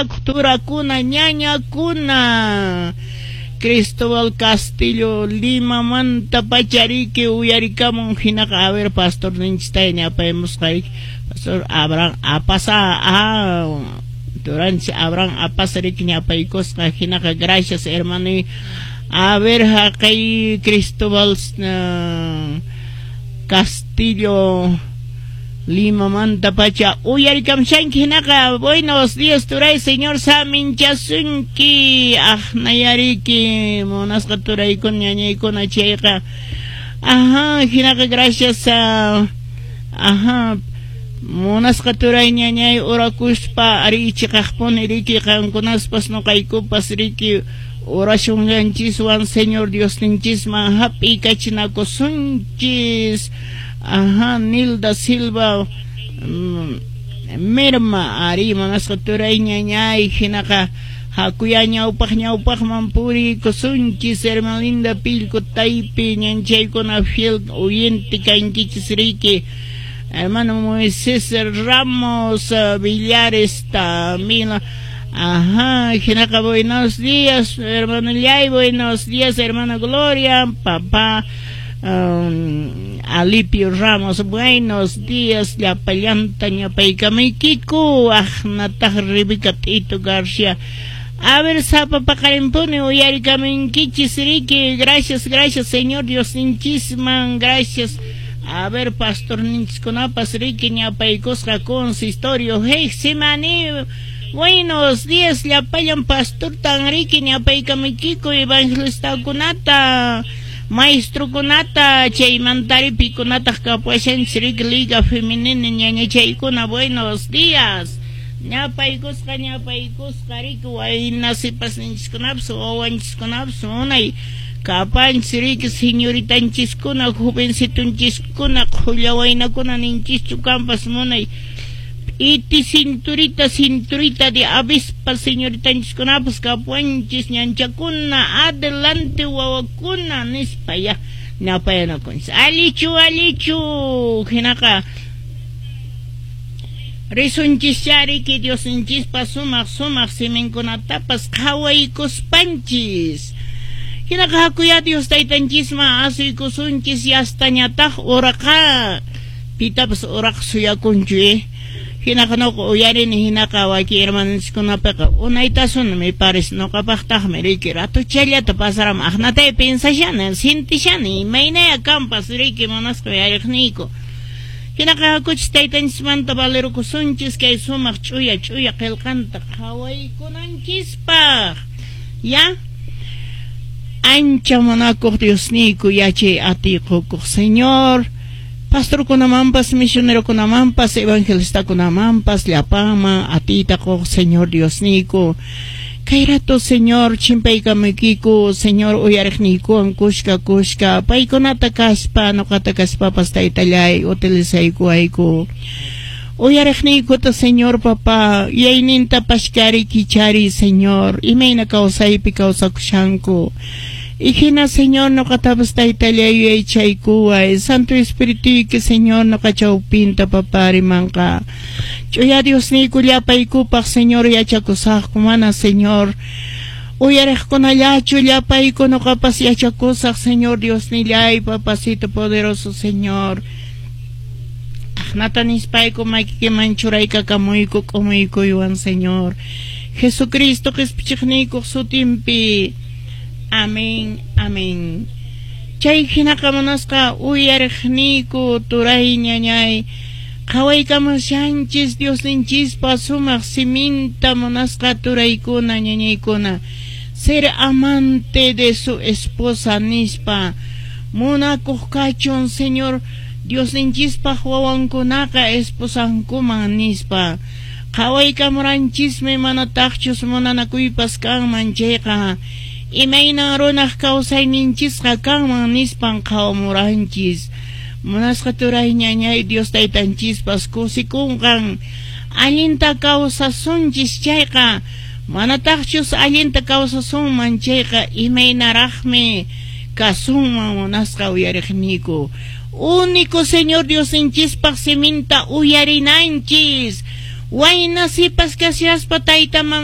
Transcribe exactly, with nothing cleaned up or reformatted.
Yachakuq turakuna, ñañakuna. Cristóbal Castillo Limamanta pachariki uyarikamun hinaqa. A ver, pastor ninchistay ñapaymusqayki, pastor Abraham Apasa, ah, turanchis Abraham Apasa riki ñapaykusqa hinaqa. Gracias, hermano. A ver, haqay Cristóbal uh, Castillo Limamanta pacha uyarikamshanki hinaqa. Buenos días, turay, Señor saminchasunki. Aqnayariki, munasqa turaykuna, ñañaykuna, chayqa. Ajá, hinaqa gracias a, ajá, munasqa turay, ñañay, orakuspa ari chiqaqpuni riki qankunaspas nuqaykupas riki oracionllanchiswan Señor Diosninchisman hap'ikachinakusunchis. Ajá, Nilda Silva mm, Merma ari, munasqa turay, ñañay, hinaqa hakuya ñawpaq ñawpaqman puriykusunchis. Hermana Linda Pilco Taypi ñanchaykuna, fiel oyente kankichis riki. Hermano Moisés Ramos Villares también. Ajá, hinaqa buenos días, hermano Yay, buenos días, hermana Gloria, papá um, Alipio Ramos, buenos días, llapallanta ñapaykamaykiku, aqnataq Rebeca Tito García. A ver, sapa paqarimpuni uyarikaminkichis riki, gracias, gracias, Señor Diosninchisman, gracias. A ver, pastor ninchiskunapas riki ñapaykusqa consistorio, Getsemaní. Buenos días, llapallan pastor tan riki ñapaykamuykiku, evangelistakunata, maestrokunata, chaymantari pikunataq kapuashanchis riki liga femenina ñañachaykuna, buenos días. Ñapaykusqa, ñapaykusqa riki wayna sipasninchiskunapas, wawanchiskunapas munay kapanchis riki, señoritanchiskuna, jovencitunchiskuna, qhulla waynakuna ninchischu kanpas munay iti cinturita, cinturita de avispa señoritanchiskunapas kapuanchis ñanchakuna, adelante wawakuna nispa ya ñapayanakunchis. Allichu, allichu, hinaqa risunchis riki Diosninchispa sumaq sumaq siminkunatapas qhawaykuspanchis. Hinaqa hakuya Dios taytanchisman asuykusunchis, yastañataq uraqa pitapas uraq suyakunchu eh. Hinaqa nuqa uyarini hinaqa waki hermanonchiskunapiqa unaytasuna me parece, nuqapaqtaqmi riki ratuchallata pasaramun, aqnatay pensashani, sintishani imaynaya kanpas riki, munasqa uyariqniyku. Hinaqa hakuchis taytanchismanta valerukusunchis kay sumaq ch'uya ch'uya qillqanta qhawaykunanchispaq. Ya, ancha munakuq Diosniyku, yachay atiy qukuq Señor, pastorkunamanpas, misionerokunamanpas, evangelistakunamanpas, llapanman atiyta quq Señor Diosniyku, kay rato, Señor, chimpaykamuykiku, Señor, uyariqniykuwan kushka kushka, paykunata kaspa, nuqata kaspapas, taytallay, utilizaykuwayku. Uyariqniykuta, Señor papá, yuyayninta pashkari kichari, Señor, imayna kawsaypi kawsakushanku. Y hina, Señor, nuqatapas taytallay yuyaychaykuway, Santo Espirituyki, Señor, nuqa chawpinta papá rimanqa. Ch'uya Diosniyku llapaykupaq, Señor, yachakusaqku, mana, Señor, uyariqkunallachu, llapayku nuqapas yachakusaq, Señor Diosnillay, papacito poderoso, Señor. Aqnata nispayku makikiman churaykakamuyku k'umuykuywan, Señor. Jesucristo qispichiqniykuq sutinpi. Amén, amén. Chay hinaqa munasqa uyariqniyku turay, ñañay, qhawaykamushanchis Diosninchispa sumaq siminta, munasqa turaykuna, ñañaykuna. Ser amante de su esposa nispa, munakuq kachun Señor Diosninchispaq wawankunaqa esposankuman nispa. Qhawaykamuranchismi manataqchus munanakuypas kanman chayqa imaynan runaq kawsayninchisqa kanman nispan qhawamuranchis. Munasqa turay, ñañay, Dios taytanchispas kusikunqan allinta kawsasunchis chayqa, manataqchus allinta kawsasunman chayqa imaynaraqmi kasunman, munasqa uyariqniyku. Único Señor Diosninchispaq siminta uyarinanchis. Wayna sipas kashaspa tayta mama